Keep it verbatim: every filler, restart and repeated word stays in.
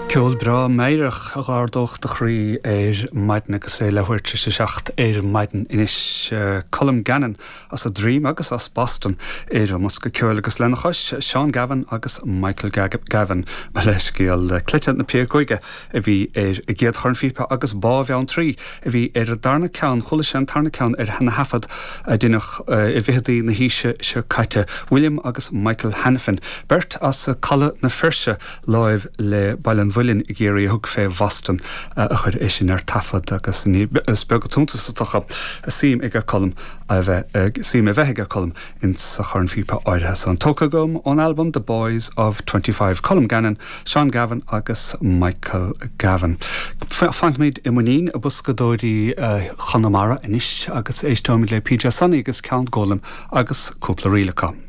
Ceol breá meidhreach a d'ardódh do chroí ar maidin agus é leathuair tar éis a seacht ar maidin anois Colm Gannon as an Droim agus as Boston ar an mbosca ceoil agus lena chois Seán Gavin agus Michael Gavin mo leithscéal Cleite na Péacóige a bhí ar an gcéad chornphíopa agus Bá Bheanntraí a bhí ar an darna ceann chuala sé an tarna ceann ar na taifid a deineadh i bhfichidí na haoise seo caite William agus Michael Hanafin beirt as Caladh na Feirste láimh le Baile an Mhuilinn i gCiarraí a thug fé Bhoston a chuir é sin ar taifead agus is beag an t-iontas is dócha suim ag Colm a bheith suim a bheith ag Colm in sa chornphíopa áirithe san tógtha agam ón album The Boys of Twenty Five Colm Gannon, Sean Gavin agus Michael Gavin. Fanfaimid i muinín boscadóirí Chonamara anois agus éisteoimid le PJ Sonny agus Ceann Gólaim agus cúpla ríl acu.